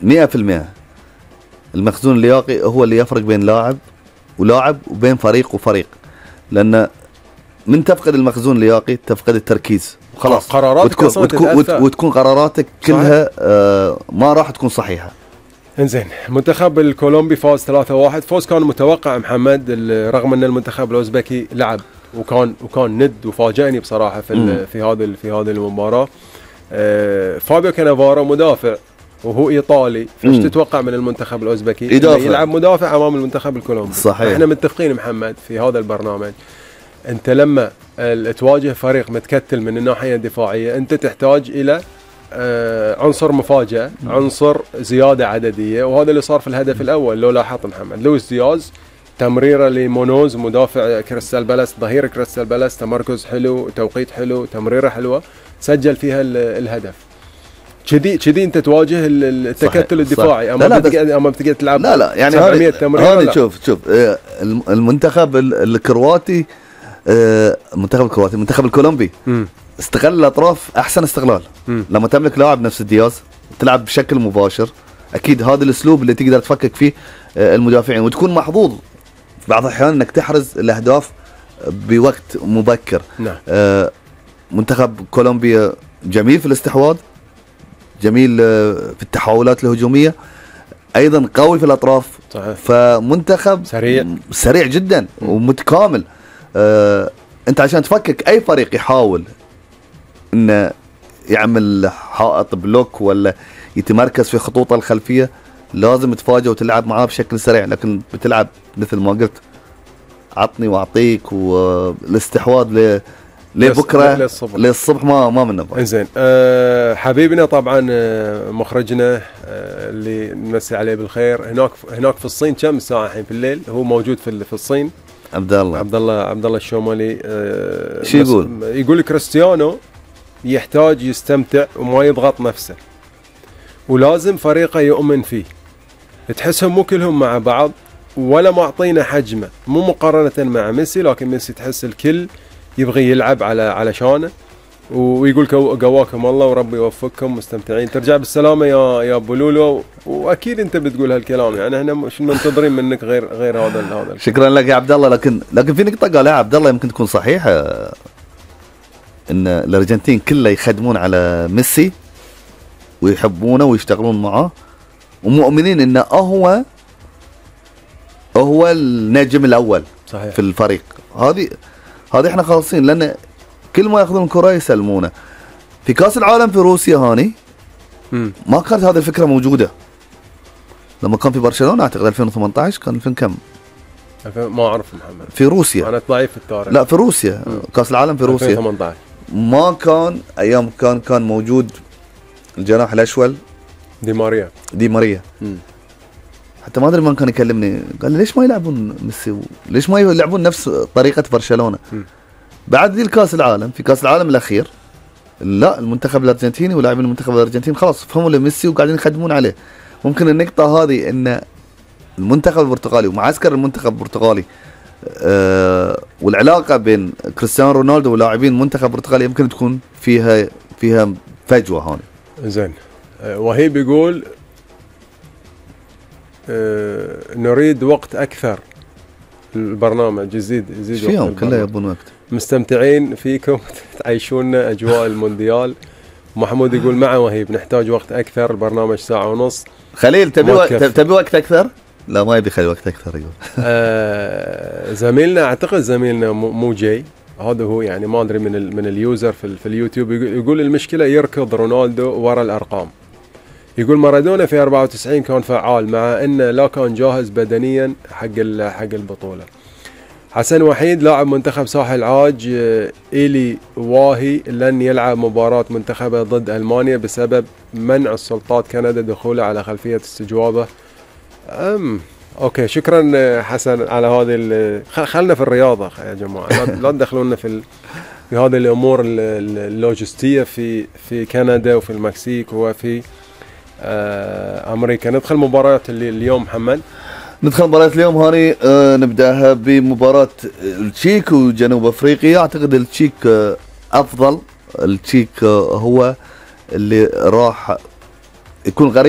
100%. المخزون اللياقي هو اللي يفرق بين لاعب ولاعب وبين فريق وفريق، لأن من تفقد المخزون اللياقي تفقد التركيز وخلاص، قراراتك وتكون قراراتك كلها ما راح تكون صحيحة. انزين، المنتخب الكولومبي فاز 3-1. فوز كان متوقع محمد، رغم ان المنتخب الاوزبكي لعب وكان ند وفاجأني بصراحة في هذه المباراة. فابيو كانافارو مدافع وهو ايطالي، فايش تتوقع من المنتخب الاوزبكي؟ يلعب مدافع امام المنتخب الكولومبي. صحيح. احنا متفقين محمد في هذا البرنامج، انت لما تواجه فريق متكتل من الناحية الدفاعية انت تحتاج الى عنصر مفاجأة، عنصر زيادة عددية، وهذا اللي صار في الهدف الأول. لو لاحظت محمد، لويس دياز تمريرة لمونوز مدافع كريستال بالاس، ظهير كريستال بالاس، تمركز حلو، توقيت حلو، تمريرة حلوة، سجل فيها الهدف. كذي انت تواجه التكتل الدفاعي اما بتقعد تلعب. لا يعني هذا شوف المنتخب الكرواتي، المنتخب الكولومبي استغل الاطراف احسن استغلال. لما تملك لاعب نفس دياز تلعب بشكل مباشر، اكيد هذا الاسلوب اللي تقدر تفكك فيه المدافعين، وتكون محظوظ في بعض الاحيان انك تحرز الاهداف بوقت مبكر. نعم. منتخب كولومبيا جميل في الاستحواذ، جميل في التحولات الهجوميه، ايضا قوي في الاطراف. صحيح. فمنتخب سريع جدا ومتكامل. انت عشان تفكك اي فريق يحاول انه يعمل حائط بلوك ولا يتمركز في خطوطه الخلفيه لازم تفاجئ وتلعب معاه بشكل سريع، لكن بتلعب مثل ما قلت عطني واعطيك، والاستحواذ لبكره للصبح ما منه. زين. حبيبنا طبعا مخرجنا اللي نمسي عليه بالخير، هناك في الصين كم ساعه الحين في الليل؟ هو موجود في الصين. عبد الله الشومالي. شو يقول كريستيانو يحتاج يستمتع وما يضغط نفسه، ولازم فريقه يؤمن فيه. تحسهم مو كلهم مع بعض ولا معطينا حجمه، مو مقارنة مع ميسي، لكن ميسي تحس الكل يبغي يلعب على شانه. ويقول قواكم الله وربي يوفقكم، مستمتعين. ترجع بالسلامة يا ابو لولو، واكيد انت بتقول هالكلام، يعني احنا مش منتظرين منك غير هذا. شكرا لك يا عبد الله. لكن في نقطة قالها عبد الله يمكن تكون صحيحة، ان الارجنتين كله يخدمون على ميسي ويحبونه ويشتغلون معه ومؤمنين انه هو النجم الاول. صحيح. في الفريق. هذه احنا خالصين، لان كل ما ياخذون الكرة يسلمونه. في كاس العالم في روسيا هاني ما كانت هذه الفكرة موجودة. لما كان في برشلونة اعتقد 2018 كان 2000 كم؟ ما اعرف محمد. في روسيا. انا ضعيف في التاريخ. لا في روسيا. كاس العالم في روسيا 2018 ما كان ايام كان موجود الجناح الاشول دي ماريا. حتى ما ادري من كان يكلمني قال لي ليش ما يلعبون ميسي، ليش ما يلعبون نفس طريقة برشلونة. بعد ذي الكاس العالم، في كاس العالم الاخير، لا المنتخب الارجنتيني ولاعبين المنتخب الارجنتيني خلاص فهموا لميسي وقاعدين يخدمون عليه. ممكن النقطة هذه ان المنتخب البرتغالي ومعسكر المنتخب البرتغالي والعلاقة بين كريستيانو رونالدو ولاعبين المنتخب البرتغالي يمكن تكون فيها فجوة هون. زين. وهيب يقول نريد وقت اكثر، البرنامج يزيد فيهم كله يبون وقت. مستمتعين فيكم تعيشونا اجواء المونديال. محمود يقول مع وهيب نحتاج وقت اكثر، البرنامج ساعة ونص. خليل تبي وقت اكثر؟ لا ما يبي خلي وقت اكثر يقول. زميلنا اعتقد زميلنا مو جاي، هذا هو يعني ما ادري من اليوزر في اليوتيوب، يقول المشكلة يركض رونالدو ورا الارقام. يقول مارادونا في 94 كان فعال مع انه لا كان جاهز بدنيا حق البطولة. حسن وحيد لاعب منتخب ساحل عاج إيلي واهي لن يلعب مباراة منتخبه ضد ألمانيا بسبب منع السلطات كندا دخوله على خلفية استجوابه. اوكي شكرا حسن على هذه خلنا في الرياضة يا جماعة، لا تدخلونا في هذه الامور اللوجستية في كندا وفي المكسيك وفي امريكا. ندخل مباريات اليوم محمد. ندخل مباراة اليوم هاني. نبداها بمباراة التشيك وجنوب افريقيا. اعتقد التشيك افضل، التشيك هو اللي راح يكون غريب